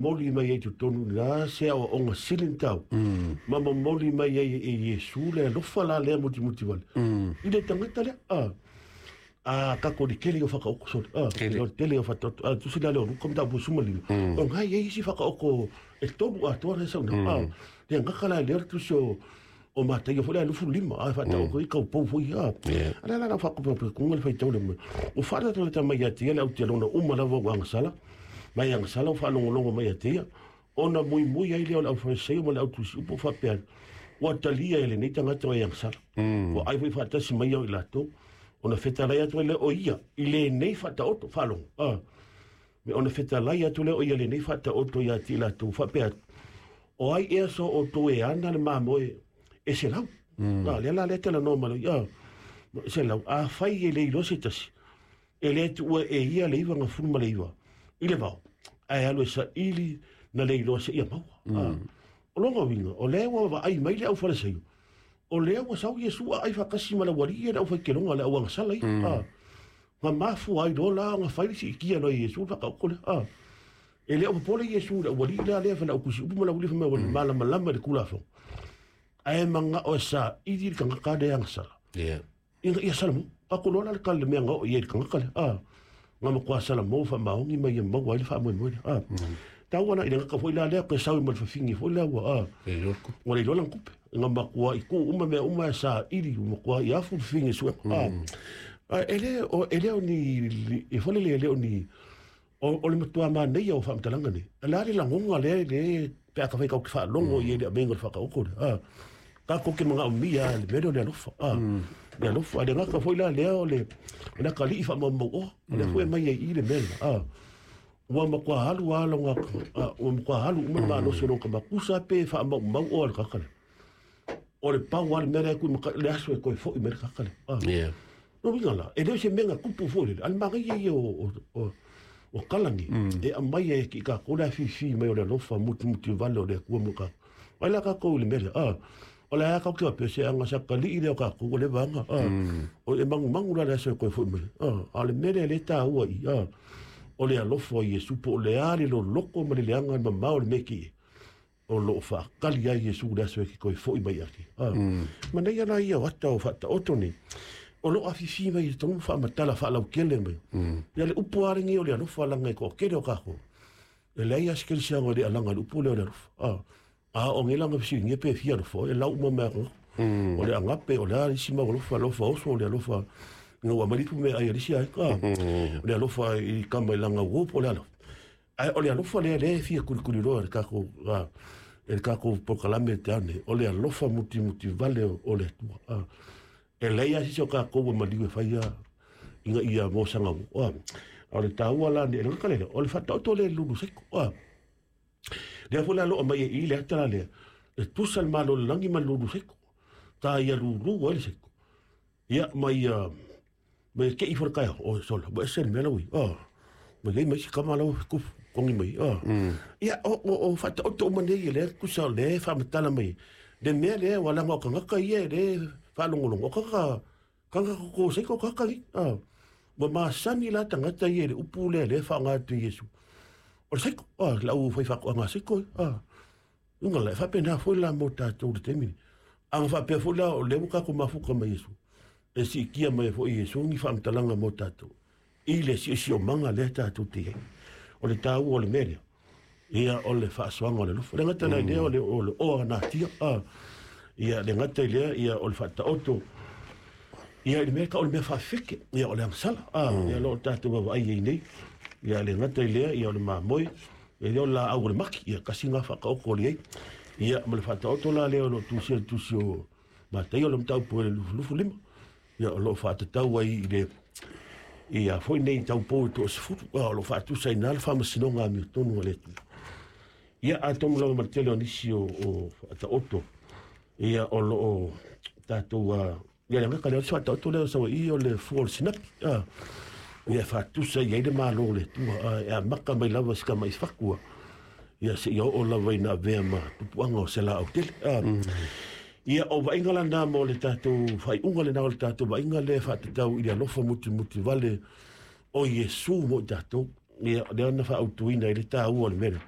Momoli mai ai i totonu i le a se aoaoga sili ona taua, ma momoli mai ai e Iesu le alofa la lea mutimuti wale i le tagata lea. A tatou le tele o whakaoko sorry. A le tele o whataoto. A tusi la le o Luka mataupu 15. O ngai e isi whakaoko e tolu atoa le sauna. A le ngaka la le tusi o Mataio foi le 25 a whataoko i kau pou foi a. A la la la whakopa kunga le whaitau le mai. O whaata mai ia te le au te lona uma lava o angasala. Mai agasala o faalogologo mai ia te ia, ona muimui ai lea o le aufaleseio ma le autusiupu o faapea atu, Ua talia e lenei tagata o e agasala. Ua ai foi faatasi mai au i latou, ona fetalai atu ai lea o ia i lenei faataoto, faalogo, a, me ona fetalai atu lea o ia lenei faataoto ia te i latou, faapea atu, O ai ea so outou e ana le mamoe e 100? A, lea la lea talanoa mai, a, 100, afai e le iloa se tasi, E le tuua e ia le 99 i le vao, ae alu e saili na le iloa seia maua. O lona uiga, o lea ua vaai mai le aufalesaio, o lea ua sau Iesu aai faatasi ma le aualii ia le aufaiteloga, le auagasala ia. Na mafua ai loa la ona fai le siitia loa e Iesu le faataoto lea. E le o popole Iesu i le aualii lea, lea fai le autusiupu ma le aualii fai mai ua malamalama i le Tulafono, ae manao e saili le tagata lea agasala. Ina ia Salamo, tatou loa la le tala i le mea na oo i ai i le tagata lea, a, na matua Salamo faamaoni mai ia maua ai le faamoemoe lea, a. Taua la i le gata foi la lea, toe sau ma le fafine foi lea ua, a, ua le iloa lana tupe. Na matua i tuu uma mea uma e saili, ua matua i afu le fafine suega, a. A e le o, e le o ni, e foi lele e le o ni, O le matua manaia o faamatalaga nei. O le a le lagona lea le pe a ka fai tatou te faalogo i ai le avega o le faataoto lea. A, tatou te manaomia le mea lea o le alofa. A, le alofa. A le gata foi la lea o le o le atalii faamaumauoa. O lea foi e aumai ai i i le mea lena. A, ua matua alu lava lona, ua matua alu uma le malosi o lona tama. Tusa pe faamaumau oa le tagata lea. O le pau lava le mea lea e tuimata'i le aso e toe foi mai le tagata lea. A. Lona uiga la, e le o se mea na tupu foi lele, a le manaia ia o tala nei, e aumai ai i tatou le afifi mai o le alofa mutimuti vale o le Atua mo tatou. Ai la tatou i le mea lea, a, o le a tatou te faapea se aga sa talii lea o tatou ua leva aga, a, o e manumanu la le aso e toe foi mai, a, a o le mea lea lea e taua i i, a, o le alofa o Iesu po o le a le loloto ma le leaga le mamao o le mea e te i ai. O lo o faatali ai Iesu i le aso e te toe foi mai ake. Manaia la ia o ata o faataoto nei, o lo o afifi mai i totonu faamatala faalautele mai. Ia le upu lava lenei o le alofa laga e toatele o tatou. E leai lava se kerisiano e le alaga i le upu lea o le alofa. A o nei la na fesiligia pe fia alofa, e lau uma mai atu. O le agape, o le a isi mau alofa, alofa oso, o le alofa ina ua aumai le ipu meaai a le isi aiga. O le alofa i tama i lana uo po o le alofa. Ae o le alofa lea lea e fia kulikuliloa e le tatou e le tatou polokalame te ao nei, o le alofa mutimuti vale o le Atua. E leai lava se isi o tatou e maliu e faia ina ia mosaga ua. A o le taua la nei, le lea, o le faataoto lea i le lulu seiko. Lea foi la loa mai e i le ata la lea, e tusa le malo o le lagi ma le lulu seiko. Ta ia lulu ai le seiko. Ia, ma ia ma ia kei fo le taeao, o sola, ua ese le mea la ua i ai. Ma i ai ma isi tama la ua tufu togi mai. Ia, o faataoto uma nei e lea tusa o lea e faamatala mai le mea lea, ua laga o tagata ia e le faalogologo, o tagata tagata koko seiko tagata nei. Ua masani la tagata ia i le upu lea lea e faaaoga atu e Iesu. O le seiko, le au faifaatoaga seiko. Uiga la, e faapena foi la mo tatou i le taimi lenei. A na faapea foi la o lea ua tatou mafuta mai Iesu, e siitia mai ai foi Iesu ni faamatalaga mo tatou i le siosiomaga lea tatou te i ai. O le taua o le mea lea, ia o le faasoaga o le alofa. Le gata la i lea o le o le oa natia, a, ia le gata i lea ia o le faataoto ia i le mea tau o le mea faafefeke, ia o le agasala, a, ia o lo o tatou vaavaai ai nei. Ia le gata i lea ia o le mamoe, E le o le laau o le maki, ia tasi lena faataoto o le i ai. Ia, ma le faataoto la lea o lo o tusia i le tusi o Mataio o le mataupu e le 25, ia o lo o faatatau ai i le ia foi nei taupou e toasefulu, o lo o faatusa i ina le faamasinoga amiotonu a le Atua. Ia, atonu lava ma le tele o nisi o faataoto, ia o lo o tatou Ia le agaga lea o le faataoto lea o Savaii o le fua o le sinapi. Ia e faatusa i ai le Malo o le Atua, e amata mai lava i si tama i fatu, ia seia oo lava ina avea ma tupuaga o se laau tele. Ia o vaaiga lana mo le tatou faaiuga lena o le tatou vaaiga lea e faatatau i le alofa mutimuti vale o Iesu mo i tatou. Ia lea na faaautuina ai le taua o le mea lea.